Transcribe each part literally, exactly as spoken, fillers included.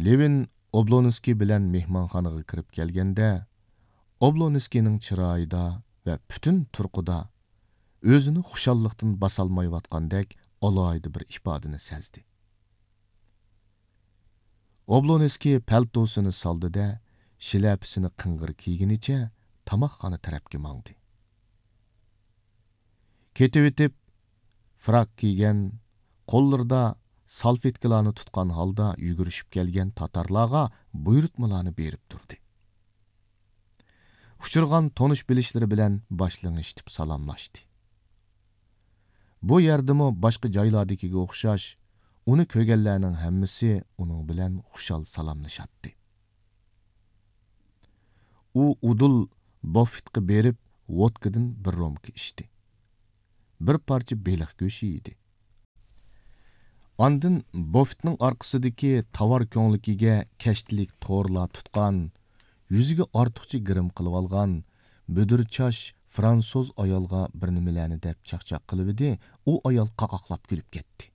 لېۋىن ئوبلونسكىي بىلەن مېھمانخانىغا كىرىپ كەلگەندە، ئوبلونسكىينىڭ چىرايىدا ۋە پۈتۈن تۇرقىدا ئۆزىنى خۇشاللىقتىن باسالمايۋاتقاندەك ئالاھىدە بىر ئىپادىنى سەزدى. ئوبلونسكىي پەلتوسىنى سالدى-دە، شىلەپىسىنى قىڭغىر كىيگىنىچە تاماقخانا تەرەپكە ماڭدى. كېتىۋېتىپ، فراك كىيگەن، قوللىرىدا سالفېتكىلارنى تۇتقان ھالدا يۈگۈرۈشۈپ كەلگەن تاتارلارغا بۇيرۇتمىلارنى بېرىپ تۇردى. ئۇچرىغان تونۇش-بىلىشلىرى بىلەن باش لىڭشىتىپ سالاملاشتى. بۇ يەردىمۇ باشقا جايلاردىكىگە ئوخشاش، ئۇنى كۆرگەنلەرنىڭ ھەممىسى ئۇنىڭ بىلەن خۇشال سالاملىشاتتى. ئۇ ئۇدۇل بوففېتقا بېرىپ، ۋودكىدىن بىر رومكا ئىچتى. بىر پارچە بېلىق گۆشى يېدى. ئاندىن بوففېتنىڭ ئارقىسىدىكى تاۋار كۆڭلىكىگە كەشتىلىك تورلار تۇتقان، يۈزىگە ئارتۇقچە گىرىم قىلىۋالغان، بۈدۈر چاچ فرانسۇز ئايالغا بىر نېمىلەرنى دەپ چاقچاق قىلىۋىدى، ئۇ ئايال قاقاقلاپ كۈلۈپ كەتتى.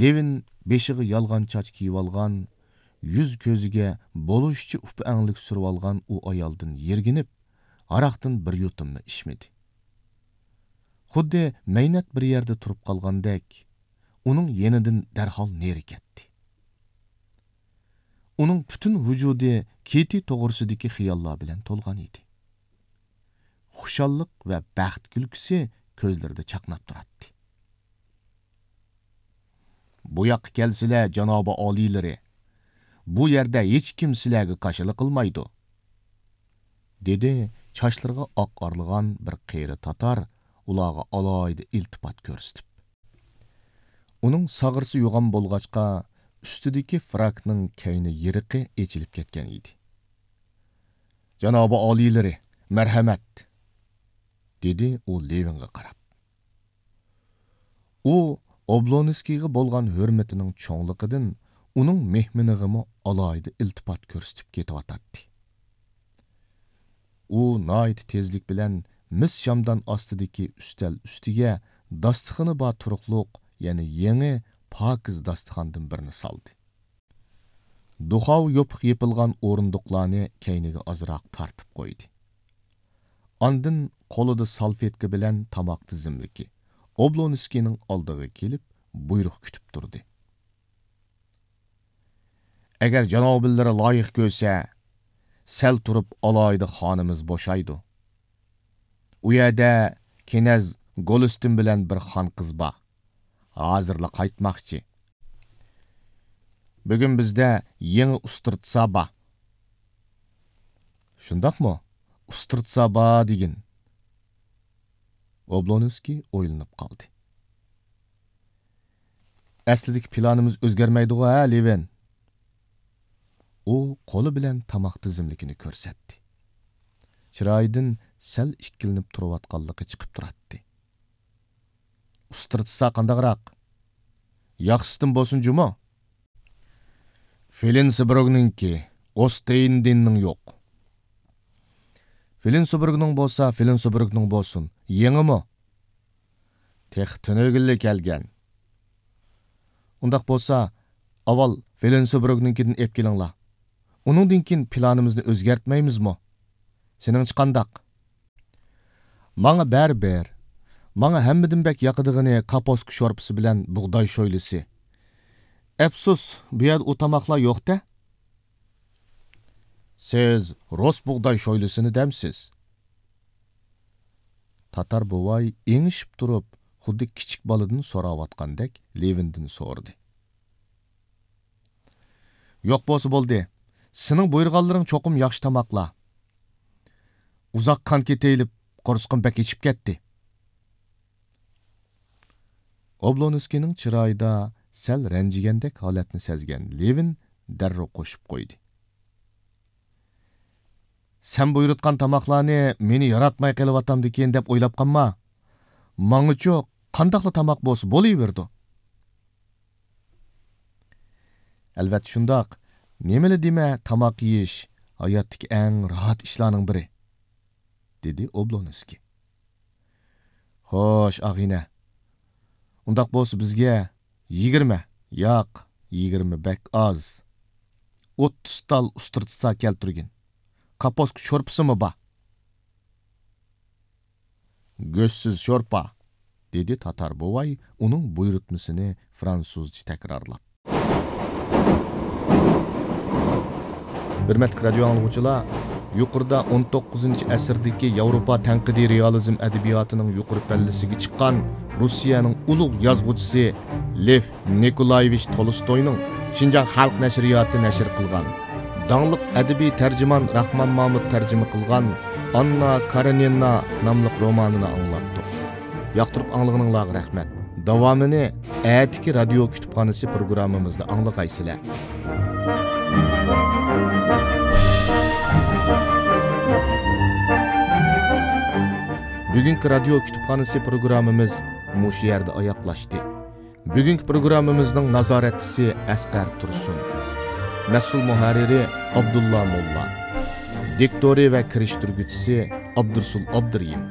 لېۋىن بېشىغا يالغان چاچ كىيىۋالغان، يۈز-كۆزىگە بولۇشىچە ئۇپا-ئەڭلىك سۈرۈۋالغان ئۇ ئايالدىن يىرگىنىپ، ھاراقتىن بىر يۇتۇممۇ ئىچمىدى. خۇددى مەينەت بىر يەردە تۇرۇپ قالغاندەك، ئۇنىڭ يېنىدىن دەرھال نېرى كەتتى. ئۇنىڭ پۈتۈن ۋۇجۇدى كېتى توغرىسىدىكى خىياللار بىلەن تولغان ئىدى. خۇشاللىق ۋە بەخت كۈلكىسى كۆزلىرىدە چاقناپ تۇراتتى. «بۇ ياققا كەلسىلە، جانابىي ئالىيلىرى، بۇ يەردە ھېچكىم سىلەرگە كاشىلا قىلمايدۇ»، دېدى چاچلىرىغا ئاق ئارىلىغان بىر قېرى تاتار ئۇلارغا ئالاھىدە ئىلتىپات كۆرسىتىپ. ئۇنىڭ ساغرىسى يوغان بولغاچقا، ئۈستىدىكى فراكنىڭ كەينى يېرىقى ئېچىلىپ كەتكەن ئىدى. «جانابىي ئالىيلىرى، مەرھەمەت!» دېدى ئۇ لېۋىنغا قاراپ. ئۇ ئوبلونسكىيغا بولغان ھۆرمىتىنىڭ چوڭلۇقىدىن ئۇنىڭ مېھمىنىغىمۇ ئالاھىدە ئىلتىپات كۆرسىتىپ كېتىۋاتاتتى. ئۇ ناھايىتى تېزلىك بىلەن مىس شامدان ئاستىدىكى ئۈستەل ئۈستىگە داستىخىنى بار تۇرۇقلۇق، يەنى يېڭى، پاكىز داستىخاندىن بىرنى سالدى. دۇخاۋ يوپۇق يېپىلغان ئورۇندۇقلارنى كەينىگە ئازراق تارتىپ قويدى. ئاندىن قولىدا سالفېتكا بىلەن تاماق تىزىملىكى، ئوبلونسكىينىڭ ئالدىغا كېلىپ، بۇيرۇق كۈتۈپ تۇردى. «ئەگەر جانابىيلىرى لايىق كۆرسە، سەل تۇرۇپ ئالاھىدە خانىمىز بوشايدۇ. ئۇ يەردە كېنەز گولىستىن بىلەن بىر خان قىز بار. ھازىرلا قايتماقچى. بۈگۈن بىزدە يېڭى ئۇسترىتسا بار.» «شۇنداقمۇ؟ ئۇسترىتسا بار دېگىن.» ئوبلونسكىي ئويلىنىپ قالدى. «ئەسلىدىكى پىلانىمىز ئۆزگەرمەيدىغۇ، ھە، لېۋىن؟» ئۇ قولى بىلەن تاماق تىزىملىكىنى كۆرسەتتى. چىرايىدىن سەل ئىككىلىنىپ تۇرۇۋاتقانلىقى چىقىپ تۇراتتى. «ئۇسترىتسا قانداقراق؟ ياخشىسىدىن بولسۇن جۇمۇ؟» «فلىنسبرۇگنىڭكى، ئوستېندېننىڭ يوق.» «فلىنسبرۇگنىڭ بولسا، فلىنسبرۇگنىڭ بولسۇن. يېڭىمۇ؟» «تېخى تۈنۈگۈنلا كەلگەن.» «ئۇنداق بولسا، ئاۋۋال فلىنسبرۇگنىڭكىدىن ئېلىپ كېلىڭلار. ئۇنىڭدىن كېيىن پىلانىمىزنى ئۆزگەرتمەيمىزمۇ؟ سېنىڭچە قانداق؟» «ماڭا بەرىبىر. ماڭا ھەممىدىن بەك ياقىدىغىنى كاپۇسكا شورپىسى بىلەن بۇغداي شويلىسى. ئەپسۇس، بۇ يەردە ئۇ تاماقلار يوق-دە.» «سىز رۇس بۇغداي شويلىسىنى دەمسىز؟» تاتار بوۋاي ئېڭىشىپ تۇرۇپ، خۇددى كىچىك بالىدىن سوراۋاتقاندەك لېۋىندىن سورىدى. «يوق بولسا بولدى. سېنىڭ بۇيرۇغانلىرىڭ چوقۇم ياخشى تاماقلار. ئۇزاق قان كېتەيلى، قورسىقىم بەك ئېچىپ كەتتى.» ئوبلونسكىينىڭ چىرايىدا سەل رەنجىگەندەك ھالەتنى سەزگەن لېۋىن دەررۇ قوشۇپ قويدى. «سەن بۇيرۇتقان تاماقلارنى مېنى ياراتماي قېلىۋاتامدىكىن دەپ ئويلاپ قالما. ماڭىچۇ قانداقلا تاماق بولسا بولۇۋېرىدۇ.» «ئەلۋەتتە شۇنداق. نېمىلا دېمە، تاماق يېيىش ھاياتتىكى ئەڭ راھەت ئىشلارنىڭ بىرى.» دېدى ئوبلونسكىي. «خوش، ئاغىنە. ئۇنداق بولسا بىزگە يىگىرمە، ياق، يىگىرمە بەك ئاز. ئوتتۇز تال ئۇسترىتسا كەلتۈرگىن. كاپوسكا شورپىسىمۇ بار. «گۆشسىز شورپا»، دېدى تاتار بوۋاي ئۇنىڭ بۇيرۇتمىسىنى فرانسۇزچە تەكرارلاپ. ھۆرمەتلىك رادىيو ئاڭلىغۇچىلار، يۇقىرىدا ئون توققۇزىنچى ئەسىردىكى ياۋروپا تەنقىدىي رېئالىزم ئەدەبىياتىنىڭ يۇقىرى پەللىسىگە چىققان روسىيەنىڭ ئۇلۇغ يازغۇچىسى لېف نىكولايېۋىچ تولستوينىڭ شىنجاڭ خەلق نەشرىياتى نەشر قىلغان، داڭلىق ئەدەبىي تەرجىمان راخمان مامۇت تەرجىمە قىلغان «ئاننا كارېنىنا» ناملىق رومانىنى ئاڭلاتتۇق. ياقتۇرۇپ ئاڭلىغىنىڭلارغا رەھمەت. داۋامىنى ئەتىكى رادىيو كۇتۇپخانىسى پروگراممىمىزدا ئاڭلىغايسىلەر. بۈگۈنكى رادىيو كۇتۇپخانىسى پروگراممىمىز مۇشۇ يەردە ئاياغلاشتى. بۈگۈنكى پروگراممىمىزنىڭ نازارەتچىسى ئەسقەر تۇرسۇن، مەسئۇل مۇھەررىرى ئابدۇللا موللا، دىكتورى ۋە كىرىشتۈرگۈچىسى ئابدۇرسۇل ئابدۇرېھىم.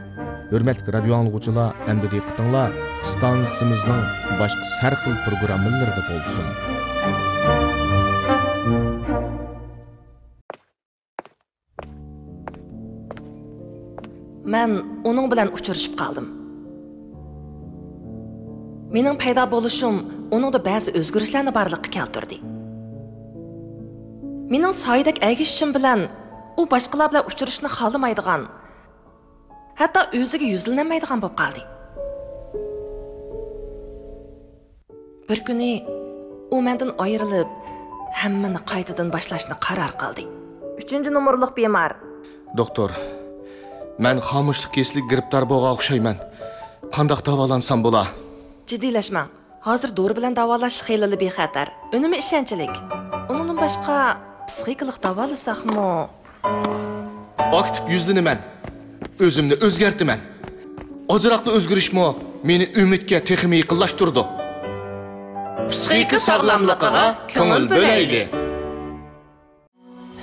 ھۆرمەتلىك رادىيو ئاڭلىغۇچىلار، ئەمدى دىققىتىڭلار ئىستانسىمىزنىڭ باشقا ھەر خىل پروگراممىلىرىدا بولسۇن. مەن ئۇنىڭ بىلەن ئۇچرىشىپ قالدىم. مېنىڭ پەيدا بولۇشۇم ئۇنىڭدا بەزى ئۆزگىرىشلەرنى بارلىققا كەلتۈردى. مېنىڭ سايىدەك ئەگىشىشىم بىلەن ئۇ باشقىلار بىلەن ئۇچرىشىشنى خالىمايدىغان، ھەتتا ئۆزىگە يۈزلىنەلمەيدىغان بولۇپ قالدى. بىر كۈنى ئۇ مەندىن ئايرىلىپ، ھەممىنى قايتىدىن باشلاشنى قارار قىلدى. ئۈچىنچى نومۇرلۇق بىمار. دوختۇر، مەن خامۇشلۇق كېسىلىگە گىرىپتار بولغان ئوخشايمەن. قانداق داۋالانسام بولا؟ جىددىيلەشمەڭ. ھازىر دورا بىلەن داۋالاش خېلىلا بىخەتەر، ئۈنۈمى ئىشەنچلىك. ئۇنىڭدىن باشقا، پسىخىكىلىق داۋالىساقمۇ؟ ئاكتىپ يۈزلىنىمەن. ئۆزۈمنى ئۆزگەرتىمەن. ئازراقلا ئۆزگىرىشمۇ مېنى ئۈمىدكە تېخىمۇ يېقىنلاشتۇرىدۇ. پسىخىكا ساغلاملىقىغا كۆڭۈل بۆلەيلى.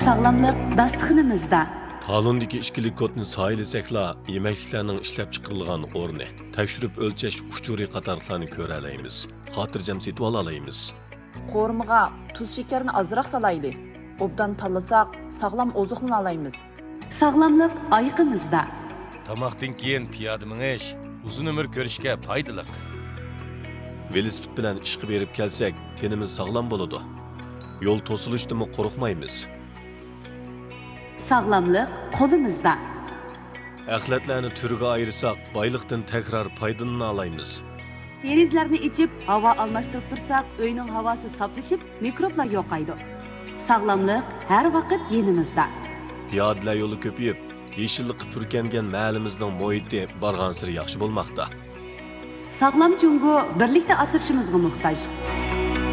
ساغلاملىق داستىخىنىمىزدا. تالوندىكى ئىككىلىك كودنى سايىلىسەكلا، يېمەكلىكلەرنىڭ ئىشلەپچىقىرىلغان ئورنى، تەكشۈرۈپ ئۆلچەش ئۇچۇرى قاتارلىقلارنى كۆرەلەيمىز، خاتىرجەم سېتىۋالالايمىز. قورۇمىغا تۇز شېكەرنى ئازراق سالايلى. ئوبدان تاللىساق، ساغلام ئوزۇقلىنالايمىز. ساغلاملىق ئايىقىمىزدا. تاماقتىن كېيىن پىيادە مېڭىش ئۇزۇن ئۆمۈر كۆرۈشكە پايدىلىق. ۋېلىسىپىت بىلەن ئىشقا بېرىپ كەلسەك، تېنىمىز ساغلام بولىدۇ. يول توسۇلۇشتىنمۇ قورقمايمىز. ساغلاملىق قولىمىزدا. ئەخلەتلەرنى تۈرگە ئايرىساق، بايلىقتىن تەكرار پايدىلىنالايمىز. دېرىزىلەرنى ئېچىپ، ھاۋا ئالماشتۇرۇپ تۇرساق، ئۆينىڭ ھاۋاسى ساپلىشىپ، مىكروبلار يوقايدۇ. ساغلاملىق ھەر ۋاقىت يېنىمىزدا. پىيادىلەر يولى كۆپىيىپ، يېشىللىققا پۈركەنگەن مەھەللىمىزنىڭ مۇھىتى بارغانسېرى ياخشى بولماقتا. ساغلام جۇڭگو بىرلىكتە ئاسرىشىمىزغا موھتاج.